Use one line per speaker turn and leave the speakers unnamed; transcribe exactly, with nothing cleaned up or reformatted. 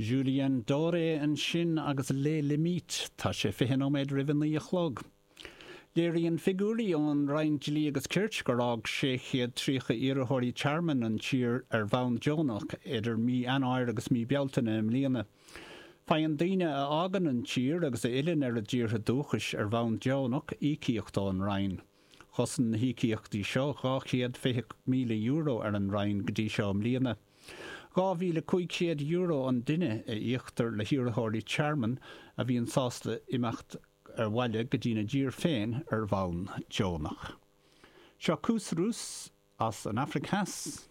Julien Doré ansin agus Les Limites tá sé fiche nóiméad roimh a naoi a chlog. Léiríonn figiúirí ón Roinn Dlí agus Cirt gur fhág sé chéad tríocha iarrthóirí tearmainn an tír ar bhonn deonach idir mí Eanáir agus mí Bealtaine i mbliana. Faigheann daoine a fhágann an tír agus a fhilleann ar a dtíortha dúchais ar bhonn deonach íocaíocht ón Roinn. Chosain na híocaíochtaí seo dhá chéad fiche míle euro ar an Roinn go dtí seo i mbliana. Dhá mhíle cúig chéad euro an duine a íoctar le hiarrthóirí tearmainn a bhíonn sásta imeacht ar bhaile go dtína dtír féin ar bhonn deonach. Seo Koos Roos as an Afraic Theas.